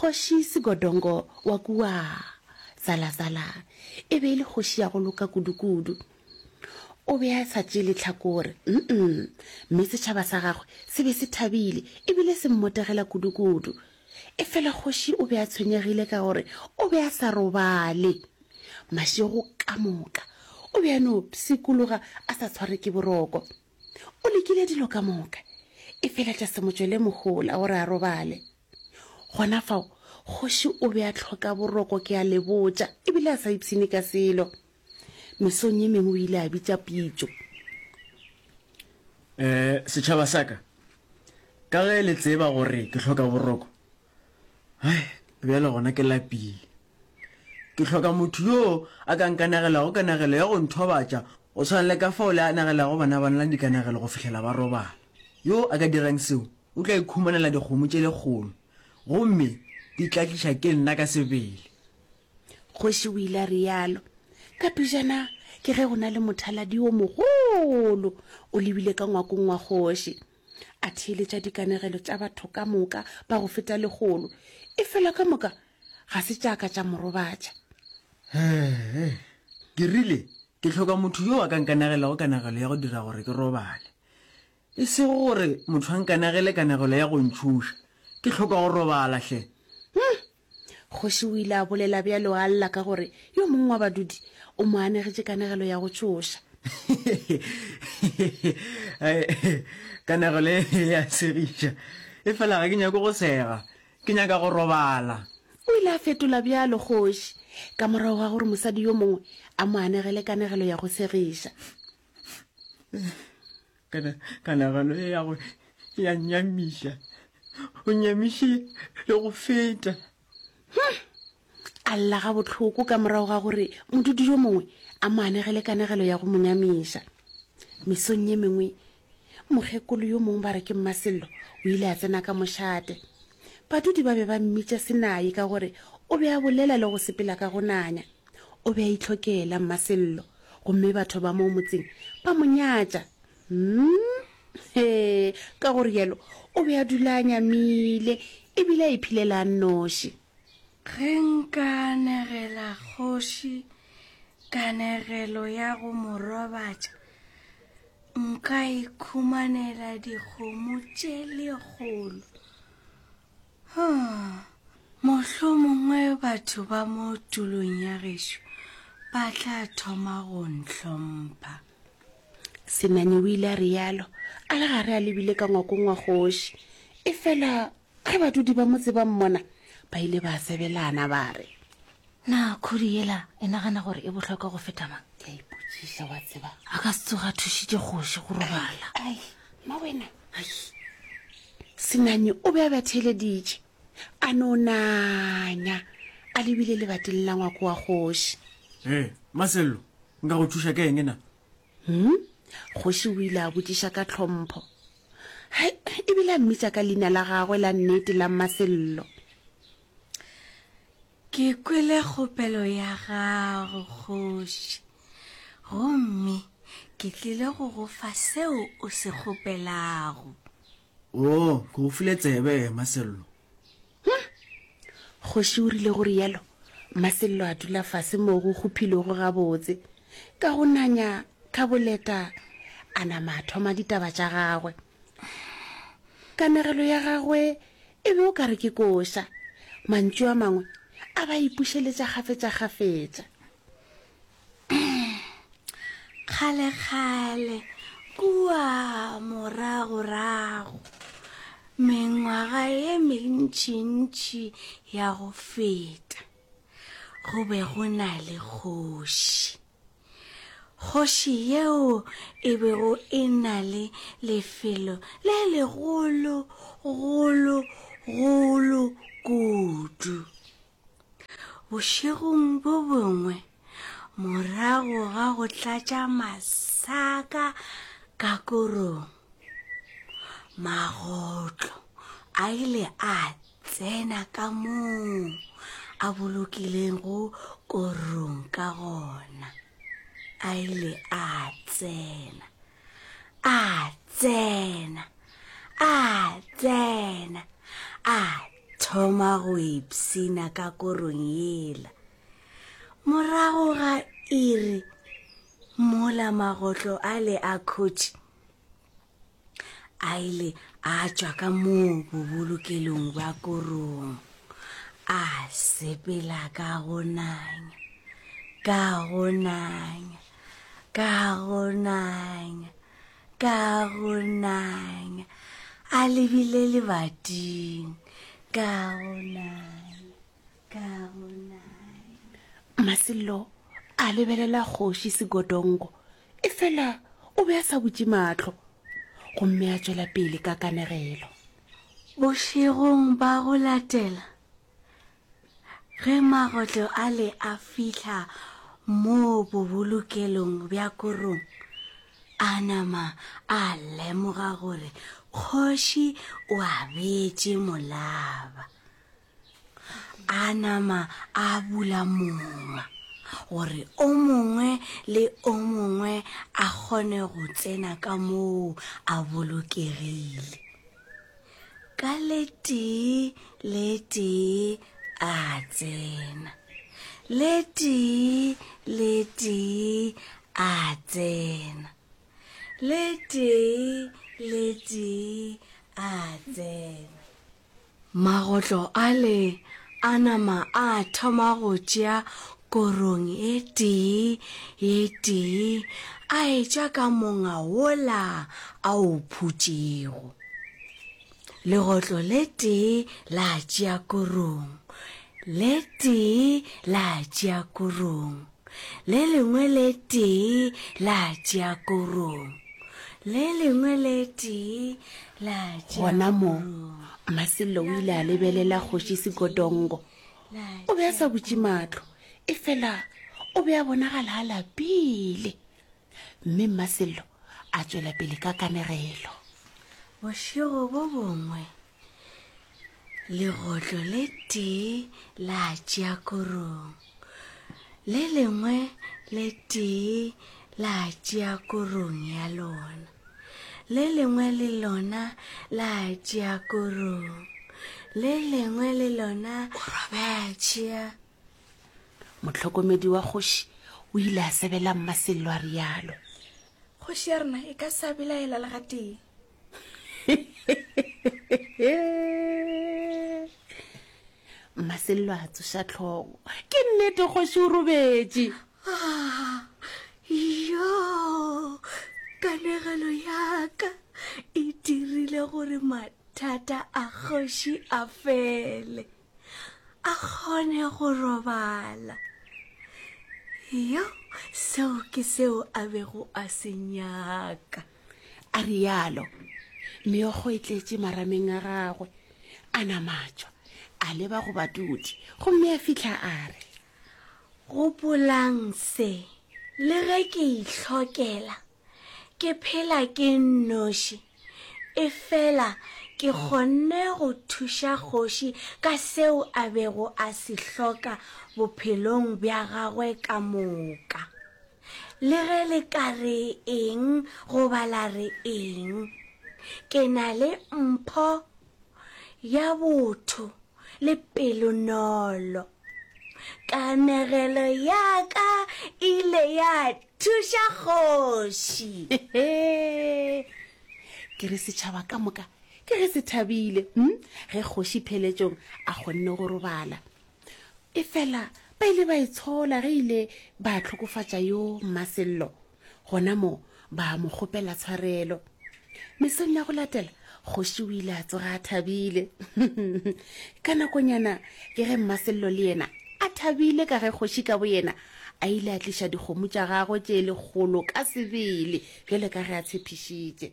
Kgoši Sigodongo wa kua Zalazala e be e le kgoši ya go loka kudukudu. O be a sa tšee lehlakore, mm, mme setšhaba sa gagwe se be se thabile e bile se mmotegela kudukudu. Efela kgoši o be a tshwenyegile ka gore o be a sa robale. Mašego ka moka o be a no pshikologa a sa tshwarwe ke boroko. O lekile dilo ka moka, efela tša se mo tšwele mohola gore a robale. Gona fao, kgoši o be a hloka boroko ke a le botša, e bile a sa ipshine ka selo. Mesong ye mengwe o ile a bitša pitšo. Eh, setšhaba sa ka, ka ge le tseba gore ke hloka boroko, hai, bjale gona ke lapile. Ke hloka motho yo a ka nkanegelago kanegelo ya go nthobatša go swana le ka fao le anegelago bana ba lena dikanegelo go fihlela ba robala. Yo a ka dirang seo o tla ikhumanela dikgomo tše lekgolo, gomme di tla tliša ke nna ka sebele. Kgoši o ile a realo. Ka pejana ke ge go na le mothaladi wo mogolo o lebile ka ngwakong wa kgoši. A theeletša dikanegelo tša batho ka moka ba go feta lekgolo, efela ka moka ga se tša ka tša mo robatša. Hee, ke rile, ke hloka motho yo a ka nkanegelago kanegelo ya go dira gore ke robale. E sego gore motho a nkanegele kanegelo ya go ntšhoša. Ke hloka go robala hle. Hum! Kgoši o ile a bolela bjalo a lla ka gore yo mongwe wa badudi o mo anegetše kanegelo ya go tšhoša. Kanegelo e ya segiša. Efela ga ke nyake go sega. Ke nyaka go robala. O ile a fetola bjalo kgoši, ka morago ga gore mosadi yo mongwe a mo anegele kanegelo ya go segiša. Kana, kanegelo e ya go ya nnyamiša. O nnyamiše le go feta. Hm! A lla gabohloko ka morago ga gore modudi yo mongwe a mo anegele kanegelo ya go mo nyamiša. Mesong ye mengwe, mokgekolo yo mongwe ba re ke Mmasello o ile a tsena ka mošate. Badudi ba be ba mmitša Senai ka gore o be a bolela le go sepela ka go nanya. O be a itlhokela Mmasello gomme batho ba moo motseng ba mo nyatša. Hmm, he, ka go rialo o be a dula a nyamile e bile a iphilela a nnoši. Ge nka anegela kgoši kanegelo ya go mo robatša, nka ikhumanela dikgomo tše lekgolo. Huh, mohlomongwe batho ba mo tulong ya gešo ba tla thoma go ntlhompha. Senani o ile a realo a le gare a lebile ka ngwakong wa kgoši. Efela ge badudi ba motse ba mmona, ba ile ba sebelana ba re. Na khudu yela e nagana gore e bohlokwa go feta mang? Ke a ipotšiša, wa tseba. A ka se tsoge a thušitše kgoši go robala. Ai, mma wena. Ai. Senani o be a ba theeleditše, a no nanya a lebile lebating la ngwako wa kgoši. Ee, Masello, nka go thuša ka eng na? Hmm? Kgoši o ile a botšiša ka tlhompho. Hai, ebile a mmitša ka leina la gagwe la nnete la Mmasello. Ke kwele kgopelo ya gago, kgoši, gomme ke tlile go go fa seo o se kgopelago. Oo, ke go file tsebe, Masello. Hm! Kgoši o rile go rialo, Masello a dula fase moo go kgophilwego gabotse. Ka go nanya ka boleta, a nama a thoma ditaba tša gagwe. Kanegelo ya gagwe e be o ka re ke koša. Mantšu a mangwe a ba ipušeletša kgafetšakgafetša. Kgalekgale kua moragorago, mengwaga ye mentšintši ya go feta, go be go na le kgoši. Kgoši yeo e bego e na le lefelo le legolo golo golo kudu. Bošegong bo bongwe, morago ga go tlatša masaka ka korong, magotlo a ile a tsena ka moo a bolokilego korong ka gona. A ile a tsena, a tsena, a tsena, a. thoma go ipshina ka korong yela. Morago ga iri mola magotlo ale a khotši a ile a tšwa ka moo bobolokelong bja korong a sepela ka go nanya ka go nanya ka go nanya ka go nanya a lebile lebating ka go nanya ka go nanya. Masello a lebelela kgoši Segodongo Efela o be a sa butše mahlo, gomme a tšwela pele ka kanegelo. Bošegong ba go latela, ge magotlo ale a fihla moo bobolokelong bja korong, a nama a lemoga gore kgoši o a beetše molaba. A nama a bula monga gore o mongwe le o mongwe a kgone go tsena ka moo a bolokegile. Ka le tee le tee a tsena, le tee le tee a tsena, le tee le tee a tsena. Magotlo ale a nama a thoma go tšea korong e tee ye tee a etša ka monga wola a o phutšego. Legotlo le tee la tšea korong, le tee la tšea korong, le lengwe le tee la tšea korong, le lengwe le tee la tšea Gona moo, korong. Mmasello o ile a lebelela Kgoši Sigodongo. O be a sa butše mahlo, efela o be a bonagala a lapile. Mme Mmasello a tšwela pele ka kanegelo. Bošego bo bongwe, legotlo le tee la tšea korong, le lengwe le tee la tšea korong ya lona, le lengwe le lona la tšea korong, le lengwe le lona la tšea. Mohlokomedi wa kgoši o ile a sebela Mmasello a realo. Kgoši ya rena e ka sa belaela le gatee. Mmasello a tsoša tlhogo. Ke nnete kgoši o robetše. Ah, yo, kanegelo ya ka e dirile gore mathata a kgoši a fele. A kgone go robala. Yo, seo ke seo a bego a se nyaka. A realo, meokgo e tletše marameng a gagwe. A namatšwa, a leba go badudi gomme a fihla a re. Gopolang se, le ge ke ihlokela, ke phela ke nnoši, efela ke kgonne go thuša kgoši ka seo a bego a se hloka bophelong bja gagwe ka moka. Le ge le ka re eng goba la re eng, ke na le mpho ya botho le pelonolo. Kanegelo ya ka ile ya thuša kgoši. Ke re setšhaba ka moka ke ge se thabile hm, ge kgoši pheletšong a kgonne go robala. Efela ba ile ba itshola ge ile ba hlokofatša yo Mmasello. Gona moo ba mo kgopela tshwarelo. Mesong ya go latela, kgoši o ile a tsoga a thabile. Ka nakonyana ke ge Mmasello le yena a thabile ka ge kgoši ka boyena a ile a tliša dikgomo tša gagwe tše lekgolo ka sebele bjalo ka ge a tshepišitše.